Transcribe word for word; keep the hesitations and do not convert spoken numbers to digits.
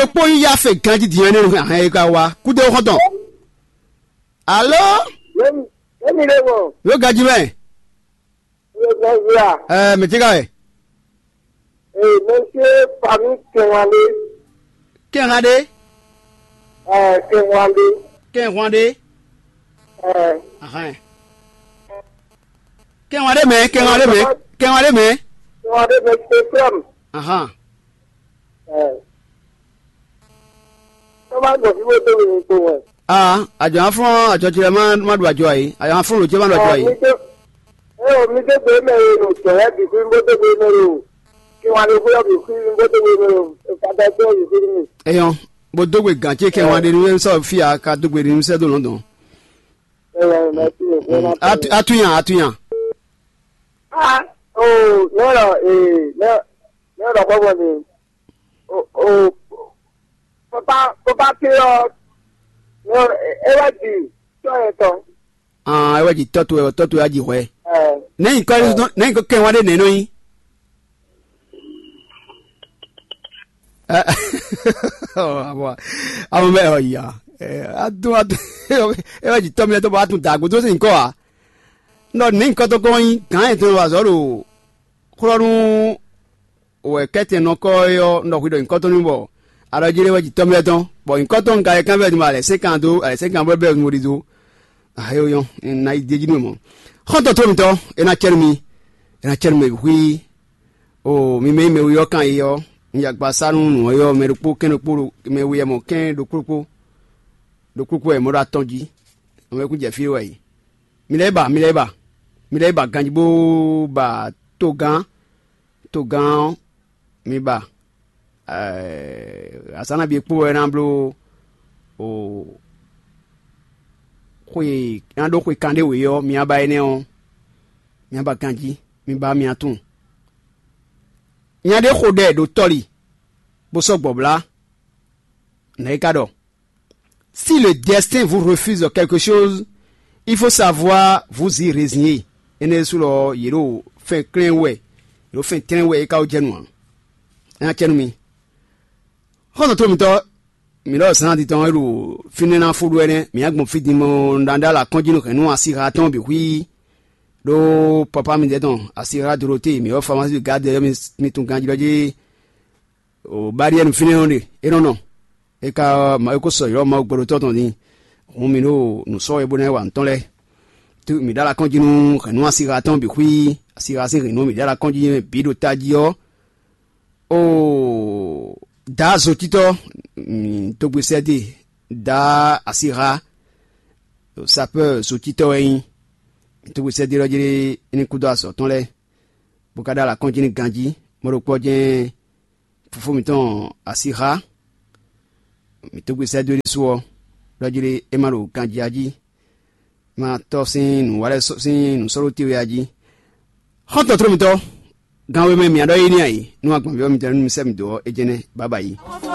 é kpó yíyá fe ganjí din ɔ́ nɛ́ hɛn é ka wá kúdó xɔ́ntɔn. Alo? Yémi ɖé mɔ. Yóò ganjí mɛ. Yóò ganjí a? Ɛɛ, mɛ tí ka wɛ? Ee, mɛ tí fami kɛnwanlé. Kɛnwanlé. Ɛɛ, kɛnwanlé. Kɛnwanlé. Ɛɛ. Ahɛn. Kɛnwanlé mɛ, kɛnwanlé mɛ, kɛnwanlé mɛ. Kɛnwanlé mɛ tí fami. Ahɛn. Ɛɛ. Tɔ́ ma gbɔ fí bó dó mi kpo wɛ. Aa, àjɔ aflɔ́n àjɔ ce lɛ́ɛ má má ɖu ajɔ ǎ é. Àjɔ aflɔ́n lǒ ce má ɖu ajɔ ǎ é. Mi dó, ɛ o, mi dó gbe mɛ e ɖo jɔ̌ lɛ́ɛ bǐ xwí bó dó gbe mɛ e o. Kí wǎn ɖé xwé ɔ́ bǐ xwí bó dó gbe mɛ e o. Fadá dó bǐ xwí nú mi. Eyɔn, bó dó gbe gǎn ce kɛ wǎn ɖé nú sɔ́ fí a ka dó gbe nú sɛ́ dó lɔ̌ndɔn. Ɛ wɛ mɛ tí mi fẹ́ má Atu atu yan atu yan. Ah, oh, nɛ lɔ, ee, nɛ nɛ lɔ kpɔkpɔ ni. O o, papa papa ke ɔ, nɛ é wá di tɔ yɛ tɔ. Ah, é wá di tɔ to wɛ, tɔ to wɛ á di hwɛ. Ɛ. Nɛ nyǐkɔ nɛ nyǐkɔ kɛ wá ɖe nɛ nɔ nyi. Ɛ, ɔ, abɔ, abɔ bɛ ɔ ya. Ɛ, adu adu. É wá di tɔ mi tɔ bɔ atu da agodo se nyǐkɔ a. Nɔ nɛ nyǐkɔ tɔ kɔ nyi gǎn yɛ tɔ wà zɔ ɖo xlɔ́ nú wɛ kɛ́tɛn nɔkɔ é ɔ́, un ɖɔ hwi ɖɔ nyǐkɔ tɔn n'i bɔ a ɖɔ jí lé wɛ ji tɔ́ mɛ tɔn, bɔ nyǐkɔ tɔn un ka yɛ kánfɛ din bɔ alɛ sɛ́n kan dó alɛ sɛ́n kan bɔ é bɛ́ nǔ ɖi dó. Ahe ó nyɔ́, un ná yi d'é jí nú mɔ. Xɔ́ntɔn tó mitɔn, é ná cɛ́ nú mi, é ná cɛ́ nú mɛ bǐ xwí. O mi mɛ e mɛ we ɔ́ kan yi ɔ́, un ya gba sá nú nǔ ɔ́ yɔ́ mɛ ɖokpó kɛ́n ɖokpó ɖo mɛ we mɔ kɛ́n ɖokpó ɖokpó ɖokpó wɛ mɔ ɖo atɔn jí. Mɛ kún jɛ fí wɛ yi. Mi lɛ́ ba, mi lɛ́ ba, mi lɛ́ ba ganjí bó ba togán, togán ɔ́, mi ba. Azǎn nabí e kpó wɛ ná bló o xwe ná ɖó xwe kanɖé wě ɔ́, mi ná ba énɛ́ ɔ́, mi ná ba ganjí, mi ba mi ná tunwun. Nya ɖé xo ɖɛ ɖo tɔli, bó sɔ́ gbɔ̌blá. Nɛ̌ é ka ɖɔ? Si le destin vous refuse quelque chose, il faut savoir vous y résigner. Énɛ́ ɖésú lɔ yě ɖo fɛn klɛ́n wɛ, yě ɖo fɛn tlɛ́n wɛ é ka wó jɛ nǔ ǎ. É ná cɛ nú mi. Xɔ́ntɔn tó mitɔ́, mǐ ɖɔ zǎn adi tɔn e ɖo fínɛ́ ná fó ɖó ɛnɛ́, mǐ á gbɔn fí din mɔ un ɖa ɖó alɔ akɔ́njí nú hɛ̌nnu asiha tɔn bǐ xwí ɖó papa mitɔ́ tɔn asiha Dorote, mǐ ɔ́ famasí gǎdɛ ɔ́ mi tunwun ganjí ɖɔ jí o Bariɛnu fínɛ́ ɔ́ ɖe é nɔ nɔ. É ka ɔ́, Mawu ko sɔ ylɔ́ Mawu gbɔɖótɔ́ tɔn din. Hǔn mi ɖo nǔ sɔ́ wɛ bó ná wa nǔ tɔn lɛ́ɛ. Tú mǐ ɖó alɔ akɔ́njí nú hɛ̌nnu asiha tɔn bǐ xwí, asiha sín hɛ̌nnu mǐ ɖó alɔ akɔ́njí mɛ bǐ ɖo tají ɔ́. Oo, Daa zotítɔ́, mǐ dó gbe sɛ́ dó e, Daa asiha, sapɛ́ɛ zotítɔ́ wɛ é nyí. Mǐ dó gbe sɛ́ dó e ɖɔ jí é ní kú dó azɔ̌ tɔn lɛ́ɛ, bó ka ɖó alɔ akɔ́njí nú ganjí. Mɔ ɖokpó ɔ́ jɛ́n fofó mǐtɔn asiha, mǐ dó gbe sɛ́ dó é ɖésú ɔ́, ɖɔ jí é má ɖo ganjí jí, má tɔ́ sín nǔ wa lɛ́ɛ sín nǔ sɔ́ ɖó te wɛ a jí. Xɔ́ntɔn tló mitɔ́, gan wemɛ mǐ ɖɔ é ní a yi, nú agbanví ɔ́ mitɔn nú mi sɛ́ mǐ dó ɔ́, é jɛ́n nɛ́, bǎbǎ yi.